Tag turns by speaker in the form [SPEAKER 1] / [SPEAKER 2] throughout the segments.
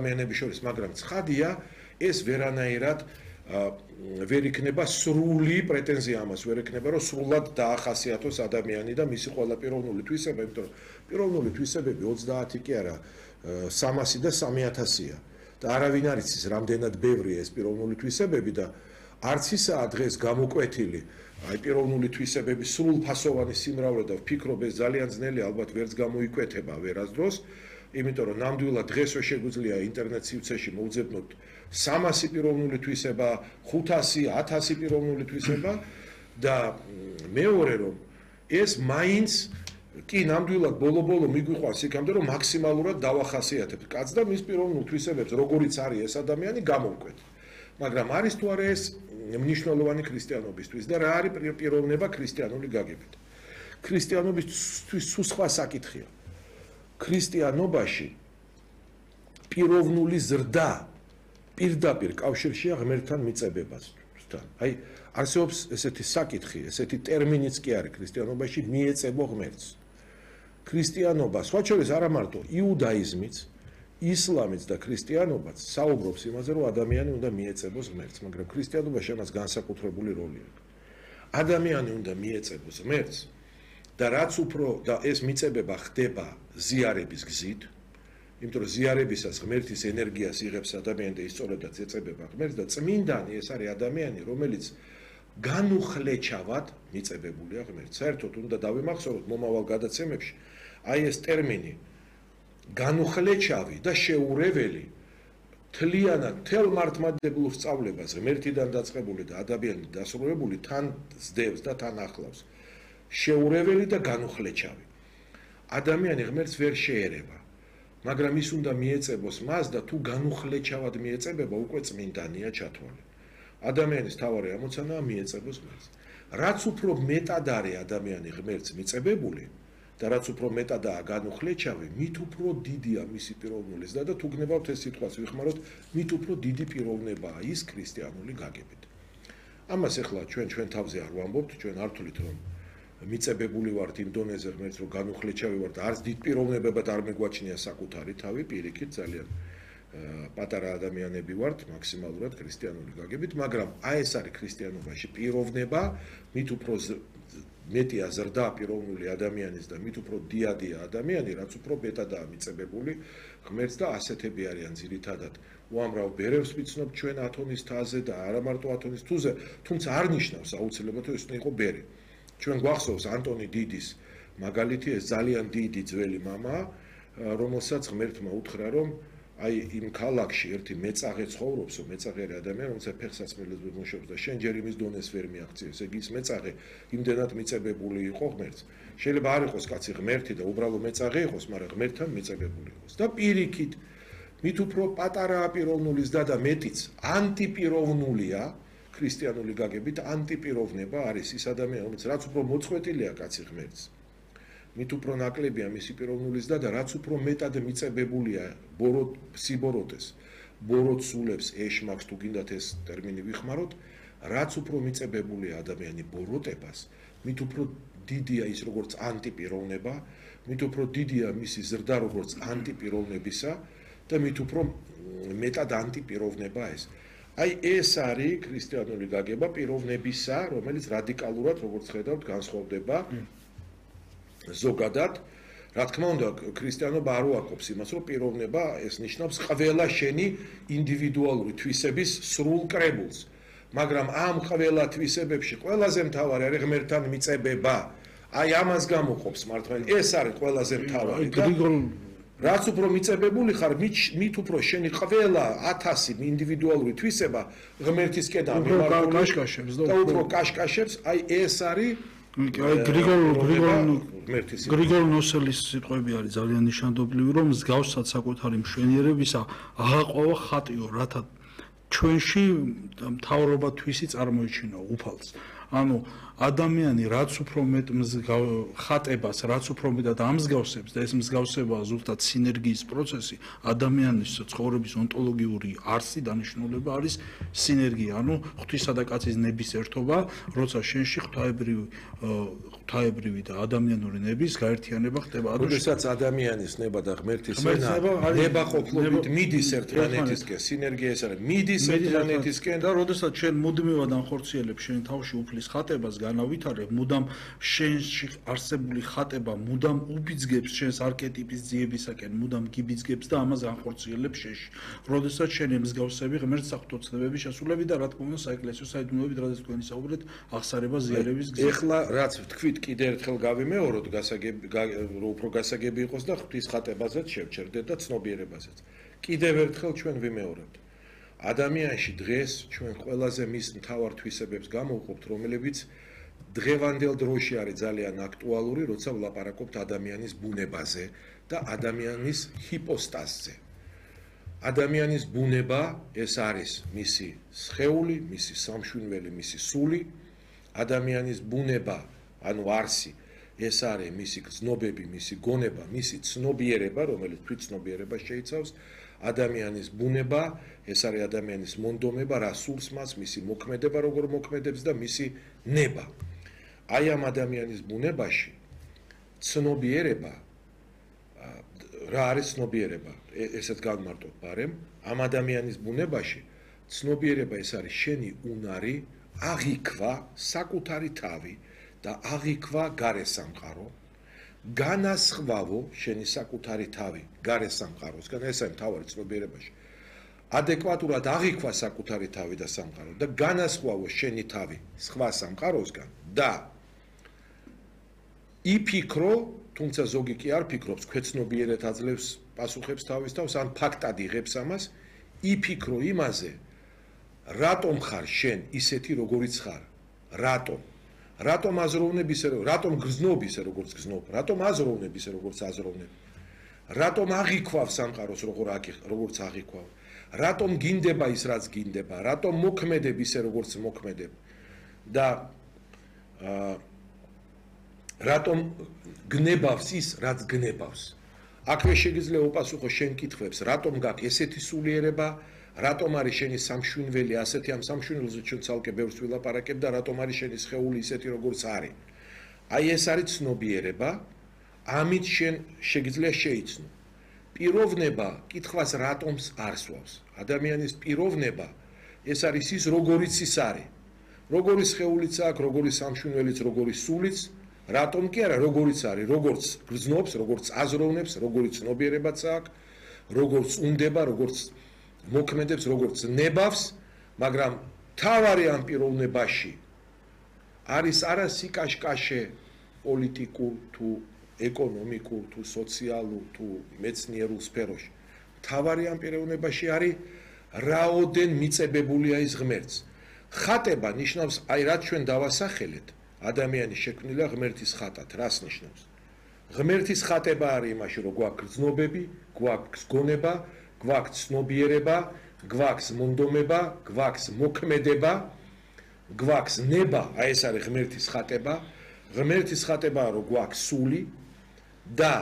[SPEAKER 1] ადამიანების შორის, მაგრამ ცხადია, ეს ვერანაირად ვერ იქნება სრული პრეტენზია ამას, ვერ იქნება რომ სრულად დაახასიათოს ადამიანი და მისი ყველა პიროვნული თვისება, იმიტომ რომ პიროვნული თვისებები 30 კი არა, 300 და 3000-ია. და არავინ არ იცის, რამდენად ბევრია ეს პიროვნული თვისებები და არც ისაა დღეს გამოკვეთილი აი პიროვნული თვისებების სრულფასოვანი სიმრავლე და ვფიქრობ ეს ძალიან ძნელი ალბათ ვერც გამოიკვეთება ვერასდროს, იმიტომ რომ ნამდვილად დღესვე შეგვიძლია ინტერნეტ სივრცეში მოვძებნოთ 300 პიროვნული თვისება, 500, 1000 პიროვნული თვისება და მეორე რომ ეს მაინც კი ნამდვილად ბოლო-ბოლო მიგვიყვანს იქამდე რომ მაქსიმალურად დავახასიათებთ კაცს და მის პიროვნულ თვისებებს როგორიც არის ეს ადამიანი გამოვკვეთ. მაგრამ არის თუ არა ეს მნიშვნელოვანი ქრისტიანობისთვის და რა არის პიროვნება ქრისტიანული გაგებით. ქრისტიანობისთვის სულ სხვა საკითხია. ქრისტიანობაში პიროვნული ზრდა პირდაპირ კავშირშია ღმერთთან მიწებებასთან. აი არსებობს ესეთი საკითხი, ესეთი ტერმინიც კი არის ქრისტიანობაში მიეწებო ღმერთს. ქრისტიანობა სხვა შორის არა მარტო იუდაიზმიც, ისლამიც და ქრისტიანობაც საუბრობს იმაზე, რომ ადამიანი უნდა მიეწებოს ღმერთს, მაგრამ ქრისტიანობაში ამას განსაკუთრებული როლი აქვს. ადამიანი უნდა მიეწებოს ღმერთს და რაც უფრო და ეს მიწებება ხდება ზიარების გზით, იმიტომ რომ ზიარებისას ღმერთის ენერგიას იღებს ადამიანი და ისწორებდაც ეწებება ღმერთს და წმინდანი ეს არის ადამიანი, რომელიც განუხლეჩავად მიწებებულია ღმერთს. საერთოდ უნდა დავიმახსოვროთ მომავალ გადაცემებში აი ეს ტერმინი განუხლეჩავი და შეურეველი თლიანად თელ მართლმადიდებლურ სწავლებას ღმერთიდან დაწყებული და ადამიანით დასრულებული თან ზდევს და თან ახლავს. შეურეველი და განუხლეჩავი. ადამიანი ღმერთს ვერ შეერევა, მაგრამ ის უნდა მიეწებოს მას და თუ განუხლეჩავად მიეწებება, უკვე წმინდანია ჩათვალე. ადამიანის თავარი ამოცანაა მიეწებოს ღმერთს. რაც უფრო მეტად არის ადამიანი ღმერთს მიწებებული და რაც უფრო მეტადაა განუხლეჩავი, მით უფრო დიდია მისი პიროვნული ზრდა და თუ გნებავთ ეს სიტყვას ვიხმაროთ, მით უფრო დიდი პიროვნებაა ის ქრისტიანული გაგებით. ამას ახლა ჩვენ თავზე არ ვამბობთ, ჩვენ არ ვთვლით რომ მიწებებული ვართ იმ დონეზე ღმერთს რომ განუხლეჩავი ვართ, არც დიდ პიროვნებებად არ მეგვაჩნია საკუთარი თავი, პირიქით ძალიან პატარა ადამიანები ვართ მაქსიმალურად ქრისტიანული გაგებით, მაგრამ აი ეს არის ქრისტიანობაში პიროვნება, მით უფრო მეტია ზრდა პიროვნული ადამიანის და მით უფრო დიადია ადამიანი, რაც უფრო მეტადაა მიწებებული ღმერთს და ასეთები არიან ძირითადად. უამრავ ბერებს ვიცნობ ჩვენ ათონის თაზე და არა მარტო ათონის თუზე, თუმცა არ ნიშნავს აუცილებლად რომ ეს უნდა იყო ბერი. ჩვენ გვახსოვს ანტონი დიდის მაგალითი, ეს ძალიან დიდი ძველი მამა, რომელსაც ღმერთმა უთხრა რომ აი იმ ქალაქში ერთი მეწაღე ცხოვრობს, მეწაღე ადამიანი, რომელსაც ფეხსაცმელად მუშაობს და შენ ჯერ იმის დონეს ვერ მიაღწიეს. ეგ ის მეწაღე იმდენად მიწებებული იყო ღმერთს. შეიძლება არ იყოს კაცი ღმერთი და უბრალო მეწაღე იყოს, მაგრამ ღმერთთან მიწებებული იყოს. და პირიქით, მით უფრო პატარაა პიროვნული ზრდა და მეტიც ანტიპიროვნულია, ქრისტიანული გაგებით ანტიპიროვნება არის ის ადამიანი, რომელიც რაც უფრო მოწყვეტილია კაცი ღმერთს. მით უფრო ნაკლებია მისი პიროვნული ზრდა და რაც უფრო მეტად მიწებებულია სიბოროტეს, ბოროტსულებს ეშმაკს თუ გინდათ ეს ტერმინი ვიხმაროთ, რაც უფრო მიწებებულია ადამიანი ბოროტებას, მით უფრო დიდია ის როგორც ანტიპიროვნება, მით უფრო დიდია მისი ზრდა როგორც ანტიპიროვნებისა და მით უფრო მეტად ანტიპიროვნება ეს. აი ეს არის ქრისტიანული გაგება პიროვნებისა, რომელიც რადიკალურად როგორც ხედავთ განსხვავდება ზოგადად, რა თქმა უნდა, ქრისტიანობა არ უარყოფს იმას, რომ პიროვნება ეს ნიშნავს ყველა შენი ინდივიდუალური თვისების სრულ კრებულს. მაგრამ ამ ყველა თვისებებში ყველაზე მთავარი არის ღმერთთან მიწებება. აი ამას გამოყოფს მართლმადიდებლობა. ეს არის ყველაზე მთავარი და რაც უფრო მიწებებული ხარ, მით უფრო შენი ყველა 1000 ინდივიდუალური თვისება ღმერთისკენ
[SPEAKER 2] ამიმართულებს
[SPEAKER 1] და უფრო კაშკაშებს, აი ეს არის
[SPEAKER 2] გრიგოლ ნოსელის სიტყვები არის ძალიან ნიშანდობლივი, რომ მსგავსად საკუთარი მშვენიერებისა აღაყვავა ხატიო, რათა ჩვენში მთავრობა თვისი წარმოიჩინო უფალს. ანუ ადამიანი რაც უფრო მეტ ხატებას, რაც უფრო მეტად ამსგავსებს და ეს მსგავსება ზუსტად სინერგიის პროცესი, ადამიანის ცხოვრების ონტოლოგიური არსი დანიშნულება არის სინერგია, ანუ ღვთისა და კაცის ნების ერთობა, როცა შენში ღვთაებრივი და ადამიანური ნების გაერთიანება ხდება.
[SPEAKER 1] როდესაც ადამიანის ნება და ღმერთის ენა ნება ყოფლობით მიდის ერთმანეთისკენ, სინერგია ეს არის, მიდის ერთმანეთისკენ
[SPEAKER 2] და როდესაც შენ მუდმივად ანხორციელებ შენ თავში უფლის ხატებას, განავითარებ, მუდამ შენში არსებული ხატება მუდამ უბიძგებს შენს არქეტიპის ძიებისაკენ, მუდამ გიბიძგებს და ამას განხორციელებს შენში. როდესაც შენ ემსგავსები ღმერთს საღვთო შესულები და რა თქმა უნდა საეკლესიო საიდუმლოებით რადგან თქვენი საუბრეთ აღსარება ზიარების გზა.
[SPEAKER 1] ეხლა რაც თქვით კიდე ერთხელ გავიმეოროთ უფრო გასაგები იყოს და ღვთის ხატებაზეც შევჩერდეთ და ცნობიერებაზეც. კიდევ ერთხელ ჩვენ ვიმეორებთ. ადამიანში დღეს ჩვენ ყველაზე მის მთავარ თვისებებს გამოვყოფთ, რომლებიც დღევანდელ დროში არის ძალიან აქტუალური, როცა ვლაპარაკობთ ადამიანის ბუნებაზე და ადამიანის ჰიპოსტაზზე. ადამიანის ბუნება ეს არის მისი სხეული, მისი სამშვენველი, მისი სული. ადამიანის ბუნება, ანუ არსი, ეს არის მისი გრძნობები, მისი გონება, მისი ცნობიერება, რომელიც თვითცნობიერება შეიცავს. ადამიანის ბუნება, ეს არის ადამიანის მონდომება, რა სულს მას, მისი მოქმედება, როგორ მოქმედებს და მისი ნება. აი ამ ადამიანის ბუნებაში ცნობიერება რა არის ცნობიერება? ესეც გავმარტოთ ბარემ. ამ ადამიანის ბუნებაში ცნობიერება ეს არის შენი უნარი, აღიქვა საკუთარი თავი და აღიქვა გარესამყარო, განასხვავო შენი საკუთარი თავი გარესამყაროსგან, ეს არის მთავარი ცნობიერებაში. ადეკვატურად აღიქვა საკუთარი თავი და სამყარო და განასხვავო შენი თავი სხვა სამყაროსგან და იფიქრო, თუმცა ზოგი კი არ ფიქრობს, ქვეცნობიერად აძლევს პასუხებს თავის თავს, ან ფაქტად იღებს ამას, იფიქრო იმაზე, რატომ ხარ შენ ისეთი როგორიც ხარ? რატომ? რატომ აზროვნებ ისე, რატომ გრძნობ ისე როგორც გრძნობ? რატომ აზროვნებ ისე როგორც აზროვნებ? რატომ აღიქვავ სამყაროს როგორც აღიქვავ? რატომ გინდება ის რაც გინდება? რატომ მოქმედებ ისე როგორც მოქმედებ? და რატომ გნებავს ის რაც გნებავს? აქვე შეგიძლია უპასუხო შენ კითხვებს, რატომ გაქვს ესეთი სულიერება? რატომ არის შენი სამშვენველი ასეთი, ამ სამშვენველზე ჩვენ ცალკე ბევრს ვილაპარაკებ და რატომ არის შენი სხეული ისეთი როგორც არის? აი ეს არის ცნობიერება, ამით შენ შეგიძლია შეიცნო. პიროვნება კითხვას რატომს არსვავს? ადამიანის პიროვნება ეს არის ის როგორიც ის არის. როგორი სხეულიც აქვს, როგორი სამშვენველიც, როგორი სულიც, რატომ კი არა, როგორიც არის, როგორც გრძნობს, როგორც აზროვნებს, როგორი ცნობიერებაც აქვს, როგორც უნდება, როგორც მოქმედებს, როგორც ნებავს, მაგრამ თავარი ამ პიროვნებაში არის არა სიკაშკაშე პოლიტიკურ თუ ეკონომიკურ თუ სოციალურ თუ მეცნიერულ სფეროში. თავარი ამ პიროვნებაში არის რაოდენ მიწებებულია ის ღმერთს. ხატება ნიშნავს, აი რაც ჩვენ დავასახელეთ, ადამიანი შექმნილია ღმერთის ხატად, რას ნიშნავს? ღმერთის ხატება არის იმაში, რომ გვაქვს გრძნობები, გვაქვს გონება, გვაქვს ცნობიერება, გვაქვს მონდომება, გვაქვს მოქმედება, გვაქვს ნება, აი ეს არის ღმერთის ხატება. ღმერთის ხატებაა, რომ გვაქვს სული და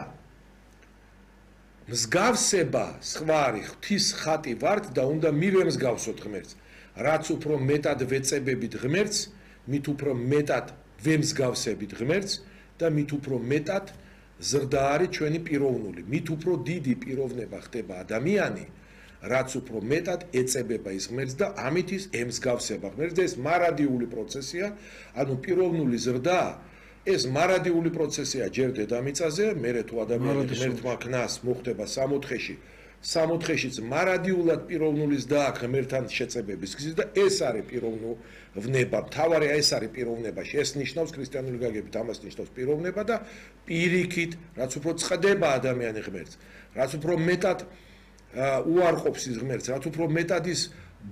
[SPEAKER 1] მსგავსება სხვა არის, ღვთის ხატი ვართ და უნდა მივემსგავსოთ ღმერთს. რაც უფრო მეტად ვეწებებით ღმერთს, მით უფრო მეტად ვემსგავსებით ღმერთს და მით უფრო მეტად ზრდა არის ჩვენი პიროვნული. მით უფრო დიდი პიროვნება ხდება ადამიანი, რაც უფრო მეტად ეწებება ის ღმერთს და ამით ის ემსგავსება ღმერთს და ეს მარადიული პროცესია, ანუ პიროვნული ზრდა ეს მარადიული პროცესია ჯერ დედამიწაზე, მერე თუ ადამიანი ღმერთმა ქნას მოხდება 60-ში, 60-შიც მარადიულად პიროვნულის და ღმერთთან შეწებების გზის და ეს არის პიროვნება. მთავარი ეს არის პიროვნებაში. ეს ნიშნავს ქრისტიანული გაგებით, ამას ნიშნავს პიროვნება და პირიქით, რაც უფრო წყდება ადამიანი ღმერთს, რაც უფრო მეტად უარყოფს ის ღმერთს, რაც უფრო მეტად ის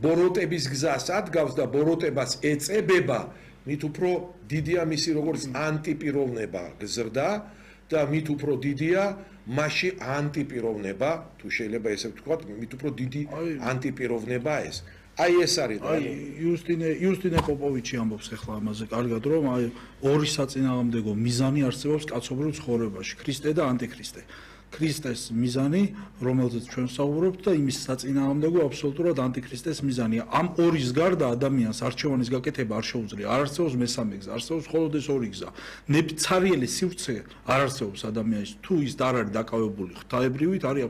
[SPEAKER 1] ბოროტების გზას ადგავს და ბოროტებას ეწებება, მით უფრო დიდია მისი როგორც ანტიპიროვნება გზრდა და მით უფრო დიდია მასში ანტიპიროვნება, თუ შეიძლება ესე ვთქვათ, მით უფრო დიდი ანტიპიროვნება ეს. აი ეს არის და
[SPEAKER 2] იუსტინე პოპოვიჩი ამბობს ახლა ამაზე კარგად, რომ აი ორი საწინააღმდეგო მიზანი არსებობს კაცობრიულ ცხოვრებაში, ქრისტე და ანტიქრისტე. ქრისტეს მიზანი, რომელზეც ჩვენ ვსაუბრობთ და იმის საწინააღმდეგო აბსოლუტურად ანტიქრისტეს მიზანია. ამ ორის გარდა ადამიანს არჩევანის გაკეთება არ შეუძლია. არ არსებობს მესამე გზა, არსებობს მხოლოდ ეს ორი გზა. ნებცარიელი სივრცე არ არსებობს ადამიანის, თუ ის არ არის დაკავებული ღვთაებრივით, არის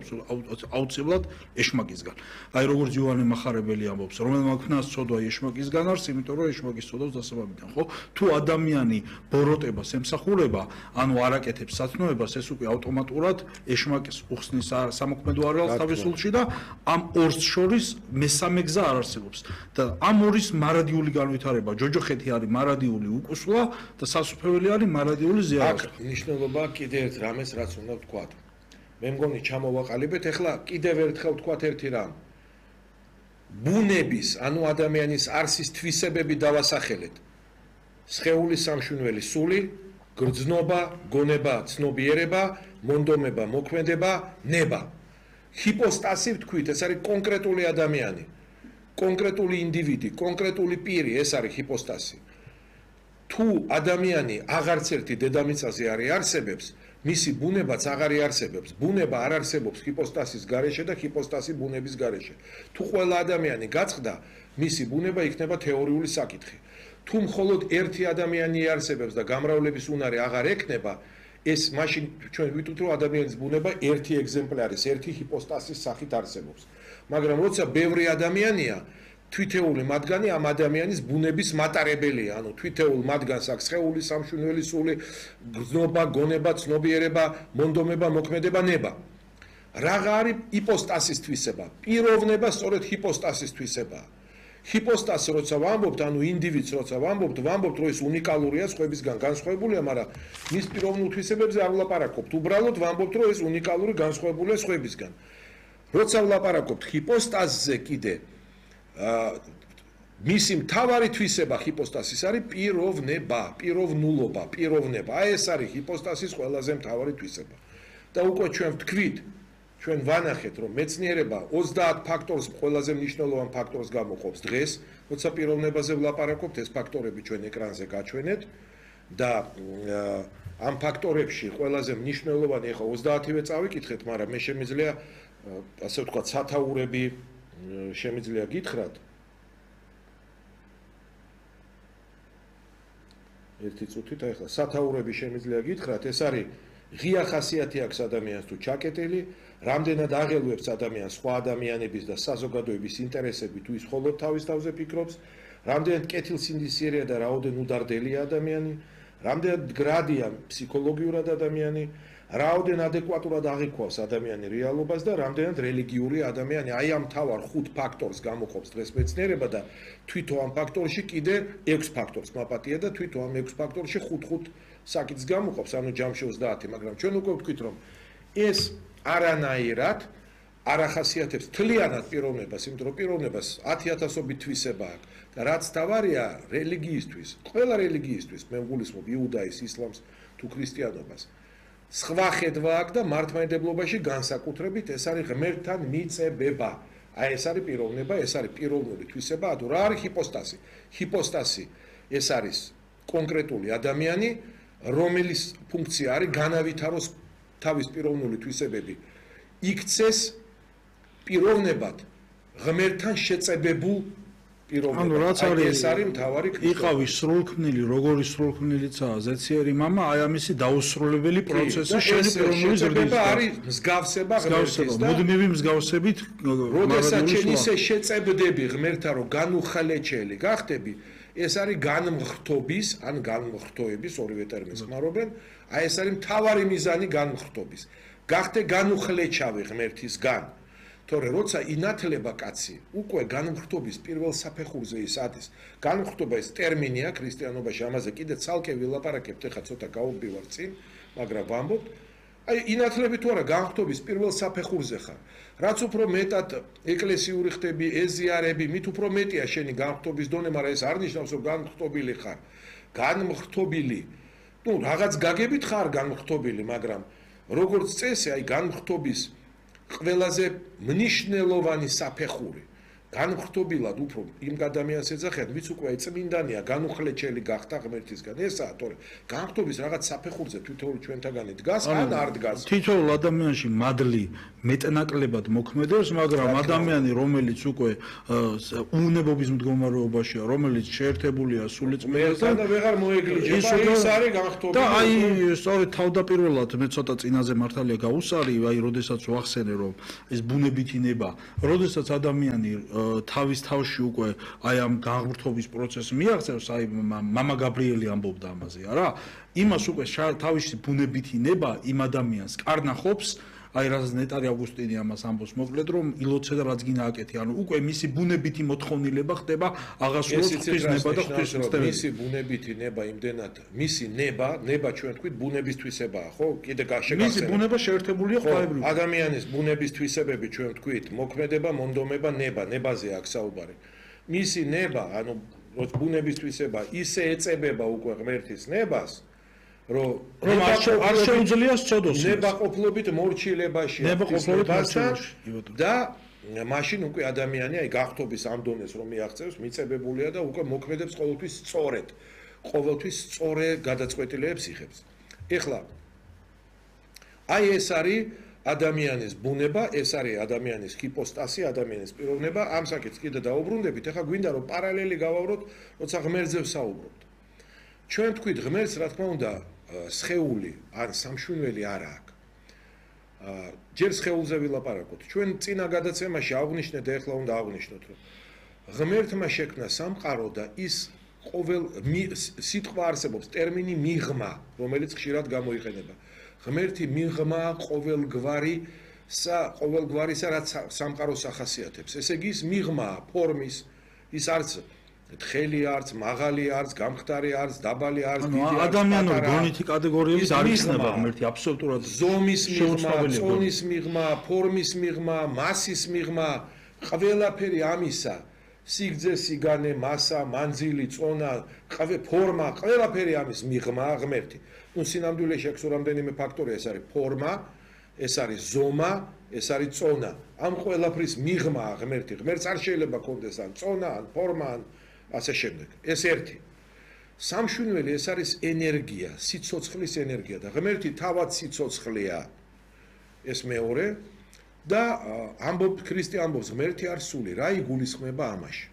[SPEAKER 2] აუცილებლად ეშმაკისგან. აი როგორც იოანე მახარებელი ამბობს, რომელმა ქნას ცოდვა ეშმაკისგან არის, იმიტომ რომ ეშმაკის ცოდავს დასაბამიდან, ხო? თუ ადამიანი ბოროტებას ემსახურება, ანუ არაკეთებს სათნოებას, ეს უკვე ავტომატურად ეშმაკის უხსნის სამოქმედო არეალს თავისულში და ამ ორს შორის მესამე გზა არ არსებობს. და ამ ორის მარადიული განვითარება, ჯოჯოხეთი არის მარადიული უკუსლა და სასუფეველი არის მარადიული ზიარება.
[SPEAKER 1] აქ მნიშვნელობა კიდე ერთ რამეს რაც უნდა ვთქვათ. მე მგონი ჩამოვაყალიბეთ, ეხლა კიდევ ერთხელ ვთქვათ ერთი რამ. ბუნების, ანუ ადამიანის არსის თვისებები დავასახელეთ. სხეულის სამშვენივრელი სული, გრძნობა, გონება, ცნობიერება, მონდომება, მოქმედება, ნება. ჰიპოსტასი ვთქვით, ეს არის კონკრეტული ადამიანი, კონკრეტული ინდივიდი, კონკრეტული პირი, ეს არის ჰიპოსტასი. თუ ადამიანი აღარც ერთი დედამიწაზე არ არსებობს, მისი ბუნებაც აღარ არსებობს. ბუნება არ არსებობს ჰიპოსტასის გარეშე და ჰიპოსტასი ბუნების გარეშე. თუ ყველა ადამიანი გაწყდა, მისი ბუნება იქნება თეორიული საკითხი. თუ მხოლოდ ერთი ადამიანი არსებობს და გამრავლების უნარი აღარ ექნება, ეს მაშინ ჩვენ ვიტყვით, რომ ადამიანის ბუნება ერთი ეგზემპლარის, ერთი ჰიპოსტასის სახით არსებობს. მაგრამ როცა ბევრი ადამიანია, თვითეული მათგანი ამ ადამიანის ბუნების მატარებელია, ანუ თვითეულ მათგანს აქვს სხეული, სამშვენივრელი სული, გრძნობა, გონება, ცნობიერება, მონდომება, მოქმედება, ნება. რაღა არის იპოსტასის თვისება? პიროვნება სწორედ ჰიპოსტასის თვისებაა. ჰიპოსტასი როცა ვამბობთ, ანუ ინდივიდს როცა ვამბობთ, რომ ის უნიკალურია, სხვებისგან განსხვავებულია, მაგრამ მის პიროვნულ თვისებებზე არ ვლაპარაკობთ. უბრალოდ ვამბობთ, რომ ეს უნიკალური განსხვავებულია სხვებისგან. როცა ვლაპარაკობთ ჰიპოსტასზე კიდე მისი მთავარი თვისება ჰიპოსტასის არის პიროვნება, პიროვნულობა, პიროვნება. აი ეს არის ჰიპოსტასის ყველაზე მთავარი თვისება. და უკვე ჩვენ ვთქვით, ჩვენ ვანახეთ, რომ მეცნიერება 30 ფაქტორს, ყველაზე მნიშვნელოვან ფაქტორს გამოყოფს დღეს, როცა პიროვნებაზე ვლაპარაკობთ, ეს ფაქტორები ჩვენ ეკრანზე გაჩვენეთ და ამ ფაქტორებში ყველაზე მნიშვნელოვანი, ახლა 30-ვე წავიკითხეთ, მაგრამ მე შემიძლია ასე ვთქვათ, სათაურები შემიძლია გითხრათ. ერთი წუთით, ახლა სათაურები შემიძლია გითხრათ, ეს არის ღია ხასიათი აქვს ადამიანს თუ ჩაკეტილი, რამდენად აღელვებს ადამიანს სხვა ადამიანების და საზოგადოების ინტერესები თუ ის მხოლოდ თავის თავზე ფიქრობს, რამდენად კეთილსინდისიერია და რაოდენ უდარდელია ადამიანი, რამდენად გრადია ფსიქოლოგიურად ადამიანი, რაოდენ ადეკვატურად აღიქვავს ადამიანი რეალობას და რამდენად რელიგიური ადამიანი. აი ამ მთავარ 5 ფაქტორს გამოყოფს დღეს მეცნიერება და თვითონ ამ ფაქტორში კიდე 6 ფაქტორს მაპატია და თვითონ ამ 6 ფაქტორში 5 საკითხს გამოყოფს, ანუ ჯამში 30, მაგრამ ჩვენ უკვე ვთქვით, რომ ეს არანაირად არ ახასიათებს თლიანად პიროვნებას, იმიტომ რომ პიროვნებას 10,000-ობით თვისება აქვს და რაც თავარია რელიგიისთვის, ყველა რელიგიისთვის, მე ვგულისხმობ იუდაიზმს, ისლამს თუ ქრისტიანობას. სხვა ხედვა აქვს და მართლმადიდებლობაში განსაკუთრებით ეს არის ღმერთთან მიწებება. აი ეს არის პიროვნება, ეს არის პიროვნული თვისება, ანუ რა არის ჰიპოსტასი? ჰიპოსტასი ეს არის კონკრეტული ადამიანი, რომელიც ფუნქცია არის განავითაროს თავის პიროვნული თვისებები. იქცეს პიროვნებად ღმერთთან შეწებებულ პიროვნებად.
[SPEAKER 2] ანუ რაც
[SPEAKER 1] ეს არის მთავარი კითხვები.
[SPEAKER 2] იყავი სრულქმნილი, როგორი სრულქმნილიცაა ზეციერი მამა, აი ამისი დაუსრულებელი პროცესი შენი პიროვნული ზრდის.
[SPEAKER 1] არის მსგავსება ღმერთის და
[SPEAKER 2] მუდმივი მსგავსებით,
[SPEAKER 1] როდესაც შენ ისე შეწებდები ღმერთთან, რომ განუხალეჩელი გახდები, ეს არის განმხრთობის, ან განმხრთოების, ორივე ტერმინს ხმარობენ, აი ეს არის მთავარი მიზანი განმხრთობის. გახდე განუხლეჩავი ღმერთისგან. თორე როცა ინათლება კაცი, უკვე განმხრთობის პირველ საფეხურზე ის ადის. განმხრთობა ეს ტერმინია ქრისტიანობაში, ამაზე კიდე ცალკე ვილაპარაკებთ, ეხლა ცოტა გავუბივარ წინ, მაგრამ ვამბობთ, აი ინათლები თუ არა განმხრთობის პირველ საფეხურზე ხარ. რაც უფრო მეტად ეკლესიური ხდები, ეზიარები, მით უფრო მეტია შენი განმხრთობის დონე, მაგრამ ეს არ ნიშნავს, რომ განმხრთობილი ხარ. განმხრთობილი, ნუ რაღაც გაგებით ხარ განმხრთობილი, მაგრამ როგორც წესი, აი განმხრთობის ყველაზე მნიშვნელოვანი საფეხური განუხრთობილად უფრო იმ ადამიანს ეძახიან, ვიც უკვე წმინდანია, განუხლეჩელი გახდა ღმერთისგან. ესაა, თორე განხრთობის რაღაც საფეხურზე თითოეული ჩვენთაგანი დგას, ან არ დგას.
[SPEAKER 2] თითოეულ ადამიანში მადლი მეტნაკლებად მოქმედებს, მაგრამ ადამიანი, რომელიც უკვე უუნებობის მდგომარეობაშია, რომელიც შეერთებულია სულიწმინდასთან
[SPEAKER 1] და ვეღარ მოეგლიჯება, ის არის განხრთობილი.
[SPEAKER 2] და აი, სწორედ თავდაპირველად მე ცოტა წინაზე მართალია გავუსარი, აი, როდესაც ვახსენე, რომ ეს ბუნებითი ნება, როდესაც ადამიანი თავის თავში უკვე აი ამ განღვრთობის პროცესს მიაღწევს, აი მამა გაბრიელი ამბობდა ამაზე, არა? იმას უკვე თავისი ბუნებითი ნება იმ ადამიანს კარნახობს, აი რაც ნეტარი ავგუსტინი ამას ამბობს მოკლედ, რომ ილოცე და რაც გინდა აკეთე, ანუ უკვე მისი ბუნებითი მოთხოვნილება ხდება აღასრულოს ღვთის ნება და ღვთის ცდები.
[SPEAKER 1] მისი ბუნებითი ნება იმდენად, მისი ნება ჩვენ თქვით ბუნებისთვისებაა, ხო? კიდე გაშეგახსენე.
[SPEAKER 2] მისი ბუნება შეერთებულია ღვთაებრივ.
[SPEAKER 1] ადამიანის ბუნების თვისებები ჩვენ თქვით, მოქმედება, მონდომება, ნება, ნებაზე აქ საუბარი. მისი ნება, ანუ ბუნების თვისება ისე ეწებება უკვე ღმერთის ნებას, რომ
[SPEAKER 2] არ შეუძლია სწოდოს
[SPEAKER 1] ნებაყოფლობით მორჩილებაში და მაშინ უკვე ადამიანი აი გახთობის ამ დონეს რომ მიაღწევს, მიწებებულია და უკვე მოქმედებს ყოველთვის სწორედ. ყოველთვის სწორე გადაწყვეტილებებს იღებს. ეხლა აი ეს არის ადამიანის ბუნება, ეს არის ადამიანის ჰიპოსტასი, ადამიანის პიროვნება, ამ საკითხს კიდე დაუბრუნდებით. ეხლა გვინდა რომ პარალელი გავავროთ, როცა ღმერთზე ვსაუბრობთ. ჩვენ თქვით ღმერთს, რა თქმა უნდა, სხეული ან სამშვენელი არ აქვს. ჯერ სხეულზე ვილაპარაკოთ. ჩვენ წინა გადაცემაში აღვნიშნეთ და ეხლა უნდა აღვნიშნოთ, რომ ღმერთმა შექმნა სამყარო და ის ყოველ სიტყვა არსებობს ტერმინი მიღმა, რომელიც ხშირად გამოიყენება. ღმერთი მიღმა ყოველგვარისა რაც სამყაროს ახასიათებს. ესე იგი ის მიღმაა ფორმის, ის არც თხელი არც, მაღალი არც, გამხდარი არც, დაბალი არც, დიდი არც,
[SPEAKER 2] ადამიანური გონითი კატეგორიების არ იხსნება ღმერთი აბსოლუტურად
[SPEAKER 1] ზომის მიღმა, წონის მიღმა, ფორმის მიღმა, მასის მიღმა, ყველაფერი ამისა, სიგრძე, სიგანე, მასა, მანძილი, წონა, ფორმა, ყველაფერი ამის მიღმაა ღმერთი. ნუ სინამდვილეში აქვს რამდენიმე ფაქტორია, ეს არის ფორმა, ეს არის ზომა, ეს არის წონა. ამ ყველაფრის მიღმაა ღმერთი. ღმერთს არ შეიძლება კონდეს ან წონა, ან ფორმა, ან ასე შემდეგ. ეს ერთი. სამშვენელი ეს არის ენერგია, სიცოცხლის ენერგია და ღმერთი თავად სიცოცხლეა. ეს მეორე და ქრისტე ამბობს ღმერთი არ სული, რა იგულისხმება ამაში.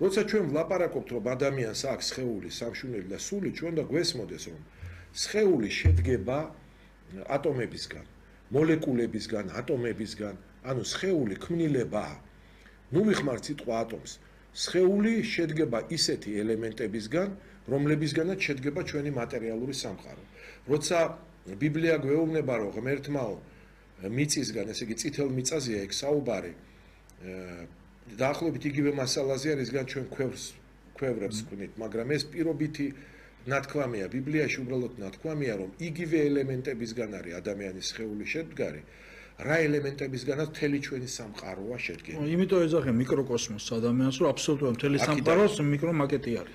[SPEAKER 1] როცა ჩვენ ვლაპარაკობთ რომ ადამიანს აქვს სხეული, სამშვენელი და სული, ჩვენ და გვესმოდეს რომ სხეული შედგება ატომებისგან, მოლეკულებისგან, ატომებისგან, ანუ სხეული ქმნილებაა. ნუ ვიხმართ სიტყვა ატომს. სხეული შედგება ისეთი ელემენტებისგან, რომლებისგანაც შედგება ჩვენი მატერიალური სამყარო. როცა ბიბლია გვეუბნება, რომ ღმერთმაო მიწისგან, ესე იგი წითელ მიწაზეა ეგ საუბარი, დაახლოებით იგივე მასალაზეა, რისგან ჩვენ ქვევრებს ვქნით, მაგრამ ეს პირობითი ნათქვამია, ბიბლიაში უბრალოდ ნათქვამია, რომ იგივე ელემენტებისგან არის ადამიანის სხეული შედგარი. რა ელემენტებისგანაც მთელი ჩვენი სამყაროა შედგენილი.
[SPEAKER 2] იმიტომ ეძახე მიკროკოსმოსს ადამიანს, რომ აბსოლუტურად მთელი სამყაროს მიკრომაკეტი არის.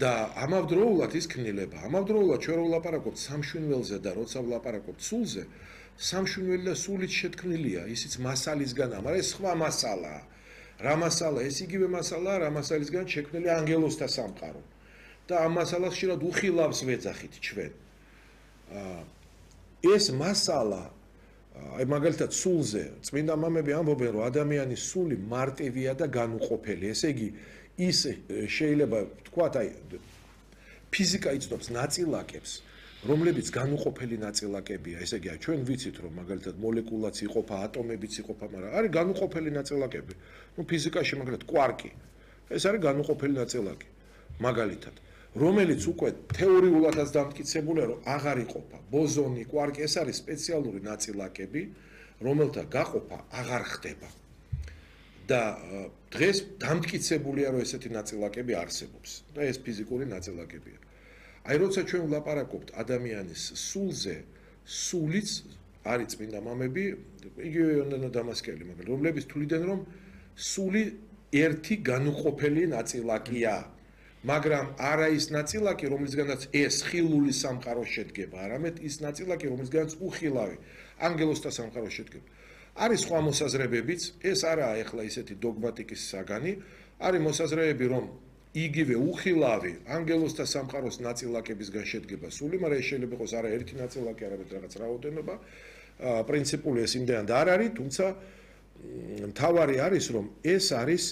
[SPEAKER 1] და ამავდროულად ის ქმნილება, ამავდროულად ჩვენ რო ვლაპარაკობთ სამშვენველზე და როცა ვლაპარაკობთ სულზე, სამშვენელი და სულით შეთქმნილია, ისიც მასალისგან, მაგრამ ეს სხვა მასალაა. რა მასალა? ეს იგივე მასალაა, რა მასალისგან შექმნილი ანგელოზთა სამყარო. და ამ მასალას ხშირად უხილავს ვეძახით ჩვენ. ეს მასალა აი მაგალითად სულზე წმინდა მამები ამბობენ რომ ადამიანის სული მარტივია და განუყოფელი. ესე იგი ის შეიძლება ვთქვათ აი ფიზიკა იცნობს ნაწილაკებს, რომლებიც განუყოფელი ნაწილაკებია. ესე იგი ჩვენ ვიცით რომ მაგალითად მოლეკულაც იყოფა, ატომებიც იყოფა, მაგრამ არის განუყოფელი ნაწილაკები. ნუ ფიზიკაში მაგალითად კვარკი. ეს არის განუყოფელი ნაწილაკი. მაგალითად რომელიც უკვე თეორიულადაც დამტკიცებულია, რომ აღარ იყოფა. ბოზონი, კვარკი, ეს არის სპეციალური ნაწილაკები, რომელთა გაყოფა აღარ ხდება. და დღეს დამტკიცებულია, რომ ესეთი ნაწილაკები არსებობს და ეს ფიზიკური ნაწილაკებია. აი როცა ჩვენ ვლაპარაკობთ ადამიანის სულზე, სულიც არის წმინდა მამები, იგივე იონანა დამასკელი, მაგრამ რომლებიც თვლიდნენ, რომ სული ერთი განუყოფელი ნაწილაკია. მაგრამ არა ის ნაწილაკი, რომლისგანაც ეს ხილული სამყარო შედგება, არამედ ის ნაწილაკი, რომლისგანაც უხილავი ანგელოზთა სამყარო შედგება. არის სხვა მოსაზრებებიც, ეს არაა ეხლა ისეთი დოგმატიკის საგანი, არის მოსაზრებები, რომ იგივე უხილავი ანგელოზთა სამყაროს ნაწილაკებისგან შედგება სული, მაგრამ ეს შეიძლება იყოს არა ერთი ნაწილაკი, არამედ რაღაც რაოდენობა. პრინციპული ეს იმდენად არ არის, თუმცა მთავარი არის, რომ ეს არის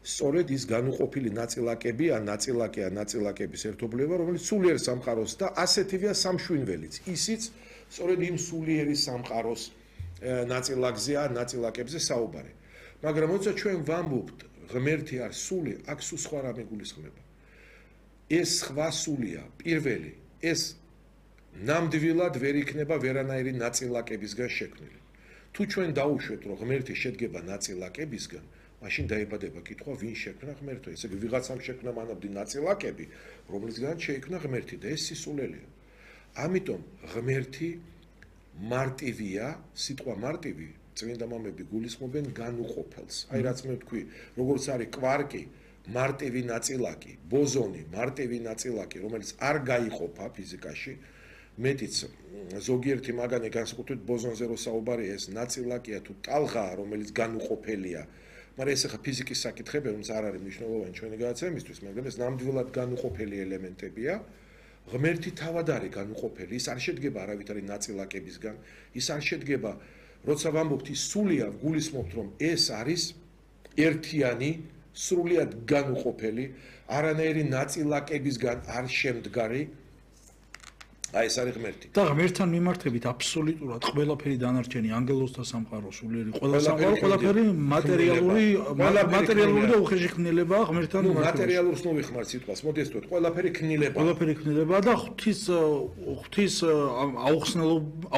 [SPEAKER 1] სწორედ ის განუყოფილი ნაწილაკები, ან ნაწილაკების ერთობლივება, რომელიც სულიერ სამყაროს და ასეთივეა სამშვინველიც. ისიც სწორედ იმ სულიერი სამყაროს ნაწილაკზეა, ნაწილაკებზე საუბარი. მაგრამ როცა ჩვენ ვამბობთ, ღმერთი არის სული, აქ სულ სხვა რამე გულისხმება. ეს სხვა სულია, პირველი, ეს ნამდვილად ვერ იქნება ვერანაირი ნაწილაკებისგან შექმნილი. თუ ჩვენ დაუშვეთ, რომ ღმერთი შედგება ნაწილაკებისგან, მაშინ დაიბადება კითხვა, ვინ შექმნა ღმერთო? ესე იგი, ვიღაცამ შექმნა მანამდე ნაწილაკები, რომლისგან შეიქმნა ღმერთი და ეს სისულელია. ამიტომ ღმერთი მარტივია, სიტყვა მარტივი, წმინდა მამები გულისხმობენ განუყოფელს. აი რაც მე ვთქვი, როგორც არის კვარკი, მარტივი ნაწილაკი, ბოზონი, მარტივი ნაწილაკი, რომელიც არ გაიყოფა ფიზიკაში, მეტიც ზოგიერთი მაგანი განსაკუთრებით ბოზონზე რო საუბარია, ეს ნაწილაკია თუ ტალღაა, რომელიც განუყოფელია. მაგრამ ეს ახლა ფიზიკის საკითხები, რომელიც არ არის მნიშვნელოვანი ჩვენი გადაცემისთვის, მაგრამ ეს ნამდვილად განუყოფელი ელემენტებია. ღმერთი თავად არის განუყოფელი, ის არ შედგება არავითარი ნაწილაკებისგან, ის არ შედგება, როცა ვამბობთ ის სულია, გულისხმობთ, რომ ეს არის ერთიანი, სრულიად განუყოფელი, არანაირი ნაწილაკებისგან არ შემდგარი. აი ეს არის ღმერთი.
[SPEAKER 2] და ღმერთთან მიმართებით აბსოლუტურად ყველაფერი დანარჩენი ანგელოზთა სამყარო სულიერი ყველაფერი მატერიალური და უხეში ქმნილებაა ღმერთთან მიმართებით.
[SPEAKER 1] მატერიალურს ნოვიხმართ სიტყვას, მოდი ეს ვთქვათ, ყველაფერი ქმნილებაა.
[SPEAKER 2] ყველაფერი ქმნილებაა და ღვთის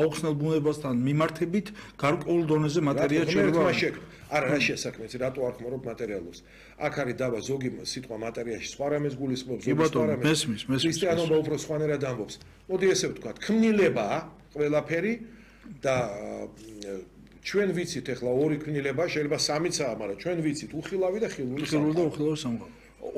[SPEAKER 2] აუხსნელ ბუნებასთან მიმართებით გარკვეულ დონეზე მატერია შეიძლება.
[SPEAKER 1] არა, რა შესაქმეც, რატო არ ხმარობ მატერიალურს? აქ არის დაბა ზოგი სიტყვა მატერიაში სხვა რამეს გულისხმობს, ზოგი სხვა რამეს. ქრისტიანობა უფრო სხვანაირად ამბობს. მოდი ესე ვთქვათ, ქმნილებაა ყველაფერი და ჩვენ ვიცით ახლა ორი ქმნილება, შეიძლება სამიცაა, მაგრამ ჩვენ ვიცით უხილავი და ხილული
[SPEAKER 2] სამყარო.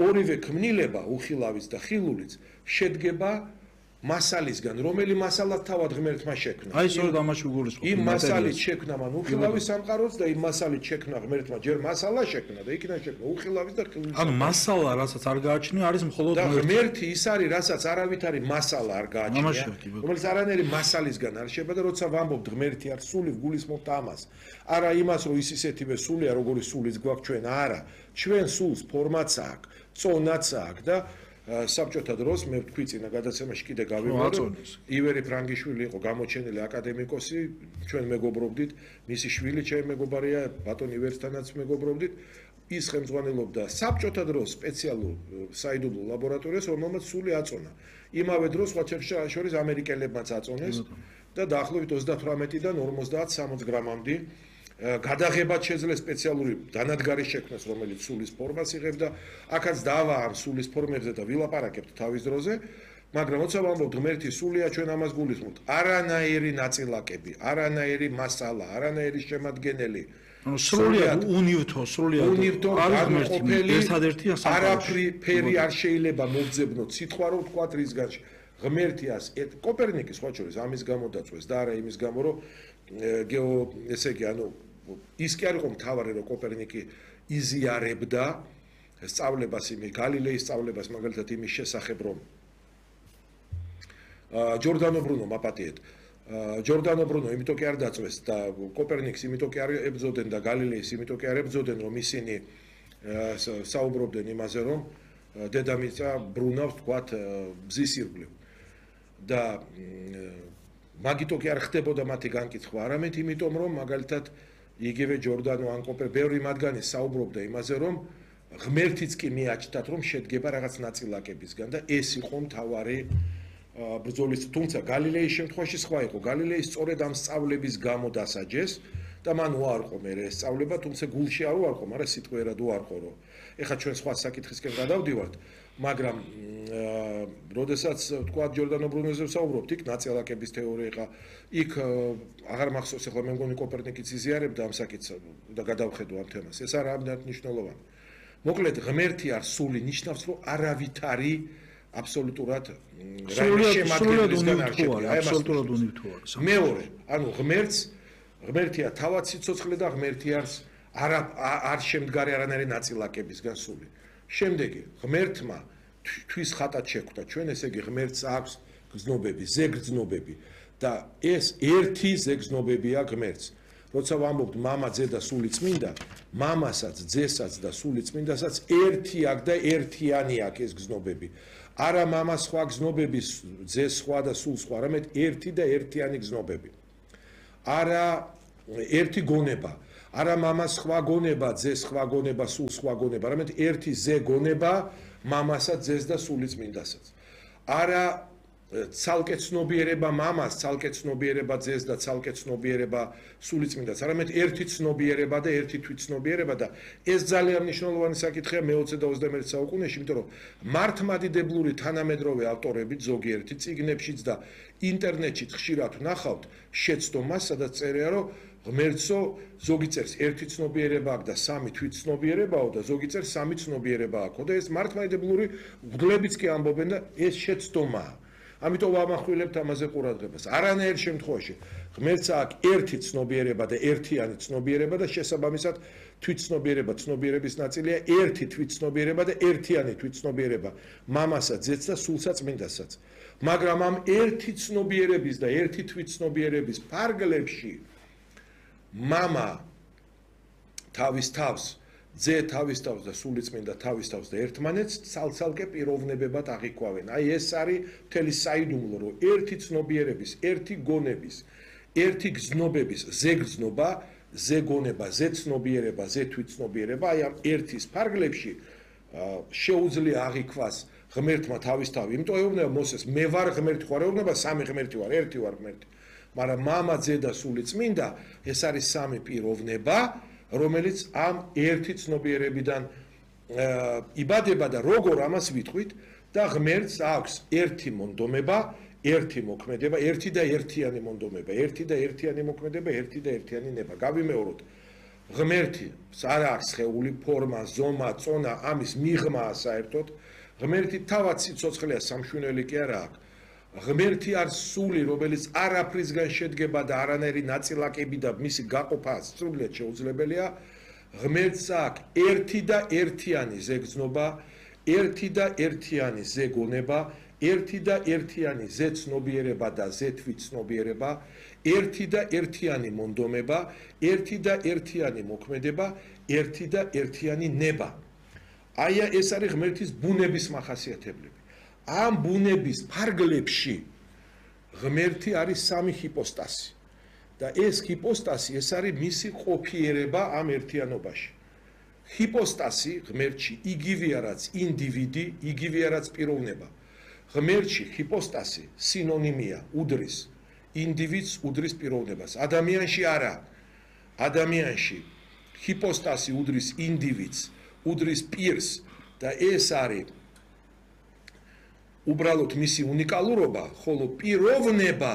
[SPEAKER 1] ორივე ქმნილება, უხილავიც და ხილულიც შედგება მასალისგან, რომელი მასალად თავად ღმერთმა შექმნა.
[SPEAKER 2] აი სწორედ ამაში გულისხმობ.
[SPEAKER 1] იმ მასალით შექმნა მან უხილავის სამყაროს და იმ მასალით შექმნა ღმერთმა ჯერ მასალა შექმნა და იქიდან შექმნა უხილავის და ხილულის.
[SPEAKER 2] ანუ მასალა, რასაც არ გააჩნია, არის მხოლოდ
[SPEAKER 1] ღმერთი ის არის, რასაც არავითარი მასალა არ გააჩნია, რომელიც არანაირი მასალისგან არ შეება და როცა ვამბობთ ღმერთი არის სული, გულისხმობთ ამას. არა იმას, რომ ის ისეთივე სულია, როგორი სულიც გვაქვს ჩვენ, არა. ჩვენ სულს ფორმაც აქვს, წონაც აქვს და საბჭოთა დროს მე ვთქვი წინა გადაცემაში კიდე გავიმეორე, ივერი ფრანგიშვილი იყო გამოჩენილი აკადემიკოსი, ჩვენ მეგობრობდით, მისი შვილი ჩემი მეგობარია, ბატონ ივერსთანაც მეგობრობდით, ის ხელმძღვანელობდა საბჭოთა დროს სპეციალურ საიდუმლო ლაბორატორიას, რომელმაც სული აწონა. იმავე დროს სხვა შორის ამერიკელებმაც აწონეს და დაახლოებით 38-დან 50-60 გრამამდე გადაღებად შეძლეს სპეციალური დანადგარი შექმნას, რომელიც სულის ფორმას იღებს და აქაც დავა ამ სულის ფორმებზე და ვილაპარაკებთ თავის დროზე, მაგრამ როცა ვამბობთ ღმერთი სულია, ჩვენ ამას გულისხმობთ. არანაირი ნაწილაკები, არანაირი მასალა, არანაირი შემადგენელი.
[SPEAKER 2] ანუ სრულიად უნივთო, განუყოფელი, ერთადერთი
[SPEAKER 1] არაფერი არ შეიძლება მოგძებნოთ სიტყვა რომ ვთქვათ რისგან ღმერთიას კოპერნიკის სხვა შორის ამის გამო დაწვეს და არა იმის გამო რომ ესე იგი ანუ ის კი არ იყო მთავარი რომ კოპერნიკი იზიარებდა სწავლებას იმის გალილეის სწავლებას მაგალითად იმის შესახებ რომ ჯორდანო ბრუნო მაპატიეთ ჯორდანო ბრუნო იმიტომ კი არ დაწვეს და კოპერნიკს იმიტომ კი არ ებრძოდნენ და გალილეის იმიტომ კი არ ებრძოდნენ რომ ისინი საუბრობდნენ იმაზე რომ დედამიწა ბრუნავს თქვათ ბზის ირგვლივ და მაგიტო კი არ ხდებოდა მათი განკითხვა არამედ იმიტომ რომ მაგალითად იგივე ჯორდანო ან კოპერ ბევრი მათგანი საუბრობდა იმაზე რომ ღმერთიც კი მიაჩნდათ რომ შედგება რაღაც ნაწილაკებისგან და ეს იყო მთავარი ბრძოლის თუმცა გალილეის შემთხვევაში სხვა იყო გალილეის სწორედ ამ სწავლების გამო დასაჯეს და მან უარყო მე ეს სწავლება თუმცა გულში არ უარყო მაგრამ სიტყვიერად უარყო რომ ეხლა ჩვენ სხვა საკითხისკენ გადავდივართ მაგრამ როდესაც თქვა ჯორდანო ბრუნოზე ვსაუბრობთ იქ ნაწილაკების თეორია ეხლა იქ აღარ მახსოვს ეხლა მე მგონი კოპერნიკიც იზიარებდა ამ საკითხს და გადავხედო ამ თემას ეს არა ამდენად მნიშვნელოვანი მოკლედ ღმერთი არ სული ნიშნავს რომ არავითარი აბსოლუტურად
[SPEAKER 2] შემადგენლისგან არ შედგება აბსოლუტურად უნივთო არის
[SPEAKER 1] მეორე ანუ ღმერთს ღმერთია თავად სიცოცხლე და ღმერთი არ შემდგარი არანაირი ნაწილაკებისგან სული. შემდეგი ღმერთმა თვის ხატად შეხვდა ჩვენ, ესე იგი ღმერთს აქვს გრძნობები, ზეგრძნობები და ეს ერთი ზეგრძნობებია ღმერთს. როცა ვამბობთ მამა, ძე და სული წმინდა, მამასაც, ძესაც და სული წმინდასაც ერთი აქვს და ერთიანი აქვს ეს გრძნობები. არა მამა სხვა გრძნობები, ძე სხვა და სულ სხვა, არამედ ერთი და ერთიანი გრძნობები. არა ერთი გონება, არა მამა სხვა გონება, ძე სხვა გონება, სულ სხვა გონება, არამედ ერთი ზე გონება მამასაც, ძეს და სული წმინდასაც. არა ცალკე ცნობიერება მამას, ცალკე ცნობიერება ძეს და ცალკე ცნობიერება სული წმინდას, არამედ ერთი ცნობიერება და ერთი თვითცნობიერება და ეს ძალიან მნიშვნელოვანი საკითხია მე-20 და 21 საუკუნეში, იმიტომ რომ მართლმადიდებლური თანამედროვე ავტორები ზოგიერთი წიგნებშიც და ინტერნეტშიც ხშირად ვნახავთ შეცდომას, სადაც წერია, რომ ღმერთსო ზოგი წერს ერთი ცნობიერება აქვს და სამი თვითცნობიერებაო და ზოგი წერს სამი ცნობიერება აქვს და ეს მართლმადიდებლური მღვდლებიც კი ამბობენ და ეს შეცდომაა. ამიტომ ვამახვილებთ ამაზე ყურადღებას. არანაირ შემთხვევაში ღმერთს აქვს ერთი ცნობიერება და ერთიანი ცნობიერება და შესაბამისად თვითცნობიერება ცნობიერების ნაწილია ერთი თვითცნობიერება და ერთიანი თვითცნობიერება მამასაც, ძეც და სულსაც წმინდასაც. მაგრამ ამ ერთი ცნობიერების და ერთი თვითცნობიერების ფარგლებში მამა თავის თავს, ძე თავის თავს და სული წმინდა თავის თავს და ერთმანეთს ცალ-ცალკე პიროვნებებად აღიქვავენ. აი ეს არის მთელი საიდუმლო, რომ ერთი ცნობიერების, ერთი გონების, ერთი გრძნობების ზეგრძნობა, ზეგონება, ზეცნობიერება, ზეთვითცნობიერება, აი ამ ერთის ფარგლებში შეუძლია აღიქვას ღმერთმა თავის თავი. იმიტომ ეუბნება მოსეს, მე ვარ ღმერთი, ხო არ ეუბნება სამი ღმერთი ვარ, ერთი ვარ ღმერთი. მაგრამ მამა, ძე და სული წმინდა ეს არის სამი პიროვნება, რომელიც ამ ერთი ცნობიერებიდან იბადება და როგორ ამას ვიტყვით და ღმერთს აქვს ერთი მონდომება, ერთი მოქმედება, ერთი და ერთიანი მონდომება, ერთი და ერთიანი მოქმედება, ერთი და ერთიანი ნება. გავიმეოროთ. ღმერთი არ აქვს სხეული, ფორმა, ზომა, წონა, ამის მიღმაა საერთოდ. ღმერთი თავად სიცოცხლეა, სამშვენელი კი არა აქვს. ღმერთი არის სული, რომელიც არაფრისგან შედგება და არანაირი ნაწილაკები და მისი გაყოფა სრულიად შეუძლებელია. ღმერთს აქვს ერთი და ერთიანი ზეგრძნობა, ერთი და ერთიანი ზეგონება, ერთი და ერთიანი ზეცნობიერება და ზეთვითცნობიერება, ერთი და ერთიანი მონდომება, ერთი და ერთიანი მოქმედება, ერთი და ერთიანი ნება. აი ეს არის ღმერთის ბუნების მახასიათებლები. ამ ბუნების ფარგლებში ღმერთი არის სამი ჰიპოსტასი და ეს ჰიპოსტასი ეს არის მისი ყოფიერება ამ ერთიანობაში. ჰიპოსტასი ღმერთში იგივეა რაც ინდივიდი, იგივეა რაც პიროვნება. ღმერთში ჰიპოსტასი სინონიმია, უდრის ინდივიდს, უდრის პიროვნებას. ადამიანში არა. ადამიანში ჰიპოსტასი უდრის ინდივიდს, უდრის პირს და ეს არის უბრალოდ მისი უნიკალურობა, ხოლო პიროვნება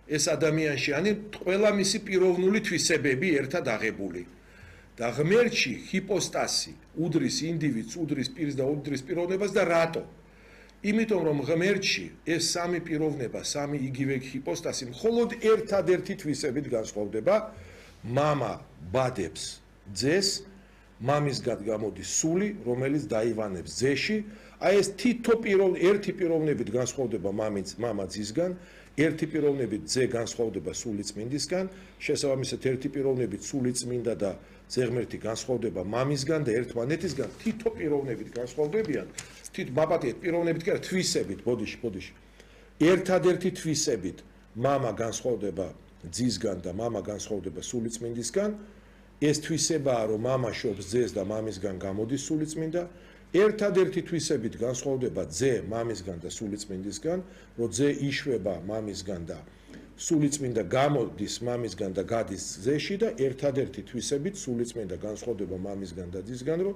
[SPEAKER 1] ეს ადამიანში, ანუ ყველა მისი პიროვნული თვისებები ერთად აღებული. და ღმერთში ჰიპოსტასი უდრის ინდივიდს, უდრის პირს და უდრის პიროვნებას და რატო? იმიტომ რომ ღმერთში ეს სამი პიროვნება, სამი იგივე ჰიპოსტასი მხოლოდ ერთადერთი თვისებით განსხვავდება. მამა ბადებს ძეს, მამისგან გამოდის სული, რომელიც დაივანებს ძეში. აი ეს თითო ერთი პიროვნებით განსხვავდება მამა ძისგან, ერთი პიროვნებით ძე განსხვავდება სული წმინდისგან, შესაბამისად ერთი პიროვნებით სული წმინდა და ძე ღმერთი განსხვავდება მამისგან და ერთმანეთისგან, თითო პიროვნებით განსხვავდებიან. მაპატიეთ პიროვნებით კი არა, თვისებით, ბოდიში. ერთადერთი თვისებით მამა განსხვავდება ძისგან და მამა განსხვავდება სული წმინდისგან. ეს თვისებაა, რომ მამა შობს ძეს და მამისგან გამოდის სული წმინდა. ერთადერთი თვისებით განსხვავდება ძე მამისგან და სული წმინდისგან, რომ ძე იშვება მამისგან და სული წმინდა გამოდის მამისგან და გადის ძეში და ერთადერთი თვისებით სული წმინდა განსხვავდება მამისგან და ძისგან, რომ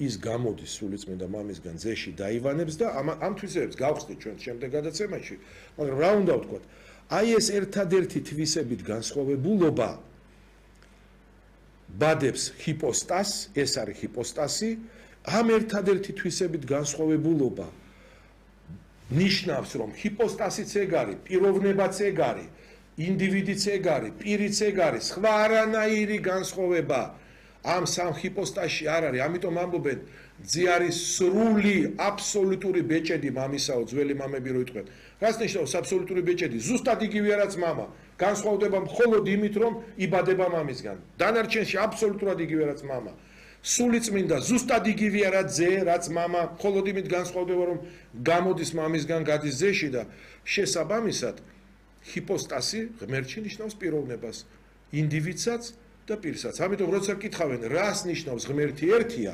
[SPEAKER 1] ის გამოდის სული წმინდა მამისგან ძეში დაივანებს და ამ თვისებებს გავხსნით ჩვენ შემდეგ გადაცემაში, მაგრამ რა უნდა ვთქვათ? აი ეს ერთადერთი თვისებით განსხვავებულობა ბადებს ჰიპოსტასს, ეს არის ჰიპოსტასი. ამ ერთადერთი თვისებით განსხვავებულობა ნიშნავს, რომ ჰიპოსტასიც ეგ არის, პიროვნებაც ეგ არის ინდივიდიც ეგ არის, პირიც ეგ არის, სხვა არანაირი განსხვავება ამ სამ ჰიპოსტაზში არ არის, ამიტომ ამბობენ ძე არის სრული აბსოლუტური ბეჭედი მამისაო, ძველი მამები რო იტყვენ. რას ნიშნავს აბსოლუტური ბეჭედი? ზუსტად იგივეა რაც მამა. განსხვავდება მხოლოდ იმით, რომ იბადება მამისგან. დანარჩენში აბსოლუტურად იგივეა რაც მამა. სულიწმინდა ზუსტად იგივეა რაც ძე, რაც მამა, მხოლოდ იმით განსხვავდება, რომ გამოდის მამისგან, გადის ძეში და შესაბამისად ჰიპოსტაზი ღმერთში ნიშნავს პიროვნებას, ინდივიდსაც და პირსაც. ამიტომ როცა კითხავენ, რას ნიშნავს ღმერთი ერთია,